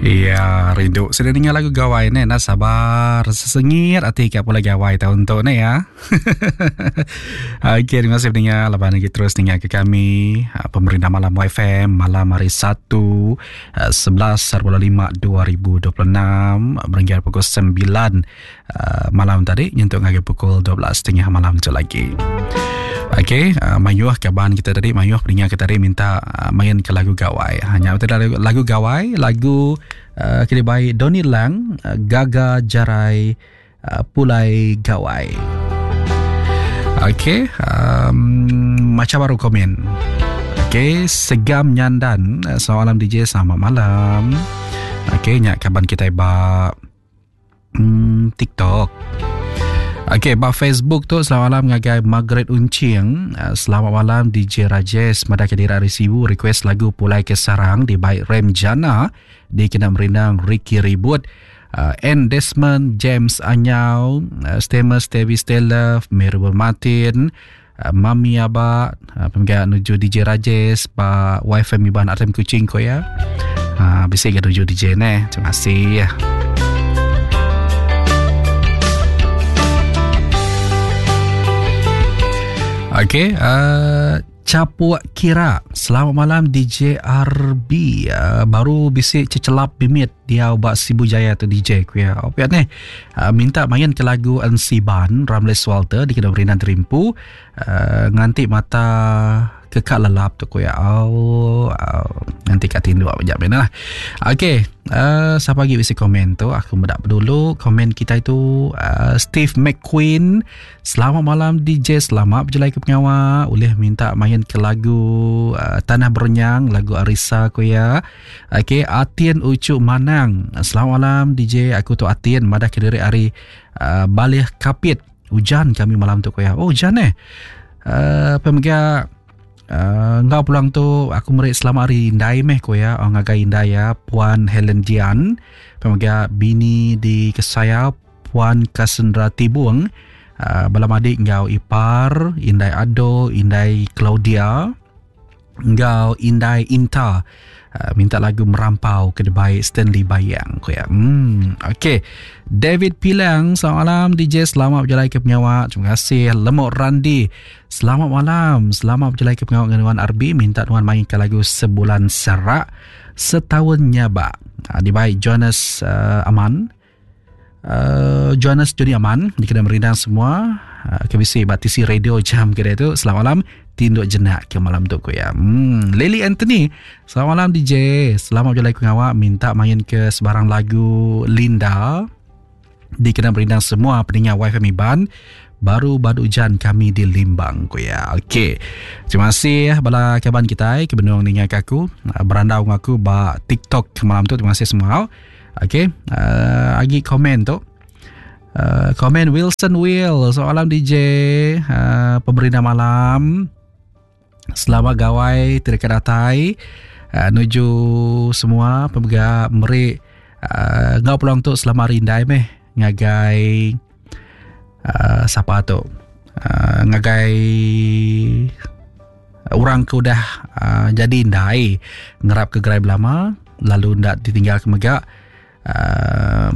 Iya, rindu sida ninga lagu gawai ne enda sabar sesengit ati ka pulai gawai taun tu ne ya. Okey, terima kasih pendengar laban lagi terus ninga ke kami ah, pemerintah malam YFM malam hari Satu 11.5 2026 berenggar pukul 9 ah, malam tadi nyentuk ngagai pukul 12.30 malam tu lagi. Okey, uh, mayuh kaban kita tadi, mayuh pendengar kita tadi minta uh, main ke lagu gawai. Hanya betul lagu, lagu gawai, lagu uh, kini baik Donny Lang, uh, Gaga Jarai uh, Pulai Gawai. Okey, um, macam baru komen. Okey, Segam Nyandan, selamat malam DJ, selamat malam. Okey, nyak kaban kita ba Hmm, TikTok. Okey, ba Facebook tu selamat malam ngagai Margaret Uncing. Eh, selamat malam DJ Rajesh. Madah ke diri ari Sibu request lagu Pulai ke Sarang di baik Rem Jana di kena merindang Ricky Ribut. Uh, N Desmond James Anyau, uh, Stemus Devi Stella, Mary Martin, uh, Mami Aba, uh, pemega nuju DJ Rajesh, ba YFM Iban RM Kuching ko ya. Uh, bisi ga nuju DJ neh. Terima kasih. Okey, uh, Capuk Kira. Selamat malam DJ RB. Uh, baru bisi cecelap bimit diau ba Sibu Jaya tu DJ ku ya. Oh, piat ni. Uh, minta main ke lagu Ensiban Ramles Walter di Kedai Berinan Terimpu. Uh, nganti mata kekak lelap tu ku ya. Oh, oh nganti kat tinduk jap ni lah. Okey, uh, siapa lagi bisi komen tu? Aku medak dulu komen kita itu uh, Steve McQueen. Selamat malam DJ, selamat berjalai ke pengawa. Ulih minta main ke lagu uh, Tanah Berenyang, lagu Arisa ku ya. Okey, Atin Ucu Manang. Selamat malam DJ, aku tu Atin madah ke diri ari uh, Balih Kapit. Ujan kami malam tu ku ya. Oh, ujan eh. Uh, pemega uh, enggau pulang tu aku meri selamat hari indai meh ku ya. Oh, ngagai indai ya Puan Helen Dian. Pemega bini di Kesaya Puan Cassandra Tibung, bala madik enggau ipar, indai Ado, indai Claudia enggau indai Inta minta lagu Merampau ke dibai Stanley Bayang ku iya. Hmm okey. David Pilang, selamat malam DJ, selamat bejalai ke pengawa. Terima kasih Lemok Randi. Selamat malam, selamat bejalai ke pengawa dengan nuan RB, minta nuan main ke lagu Sebulan Serak Setahun Nyabak dibai Jonas Aman. Uh, Johannes Joni Aman dikena merindang semua uh, ke bisi ba tisi radio jam ke tu selamat malam tinduk jenak ke malam tu ku ya. Hmm Lily Anthony selamat malam DJ selamat berjalai ku ngawak minta main ke sebarang lagu Linda dikena merindang semua peninga YFM Iban baru badu ujan kami di Limbang ku ya. Okey. Terima kasih bala kaban kitai ke benung ninga ke aku berandau enggau aku ba TikTok malam tu terima kasih semua. Okey, uh, agi komen tu. Uh, komen Wilson Will, soalan DJ uh, pemerintah malam. Selamat gawai tidak datai. Uh, nuju semua pemega meri uh, ngau peluang tu selama rindai meh ngagai uh, sapa tu. Uh, ngagai Orang ke udah uh, jadi indai ngerap ke gerai belama lalu enda ditinggal ke mega uh,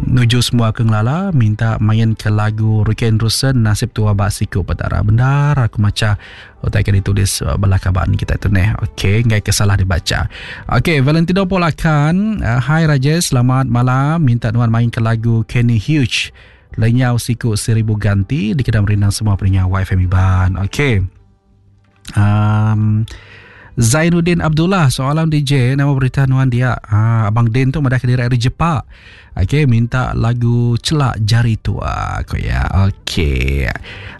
nuju semua ke ngelala minta main ke lagu Ricky Andrewson Nasib Tua Ba Siku Petara. Bendar aku macha utai ke ditulis uh, bala kaban kita tu neh. Okey, enggai ke salah dibacha. Okey, Valentino Polakan, uh, hai Rajesh, selamat malam. Minta nuan main ke lagu Kenny Huge. Lenyau Siku Seribu Ganti dikena merindang semua peninga YFM Iban. Okey. Um, Zainuddin Abdullah, soalan DJ, nama berita nuan dia. Ha, Abang Din tu madah ke diri ari Jepak. Okey, minta lagu Celak Jari Tua. Ko ya. Okey.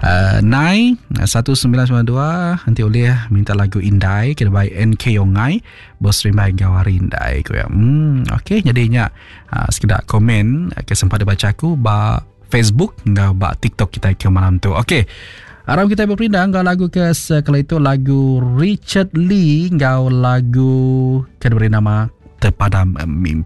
Uh, Nai 1992 nanti oleh minta lagu Indai kena baik NK Yongai bos rimbai enggau hari Indai ko ya. Hmm, okey jadinya uh, sekeda komen ke sempat dibaca aku ba Facebook enggau ba TikTok kita ke malam tu. Okey. Aram kita berperindang enggau lagu ke sekali itu lagu Richard Lee enggau lagu ke diberi nama Terpadam Mimpi.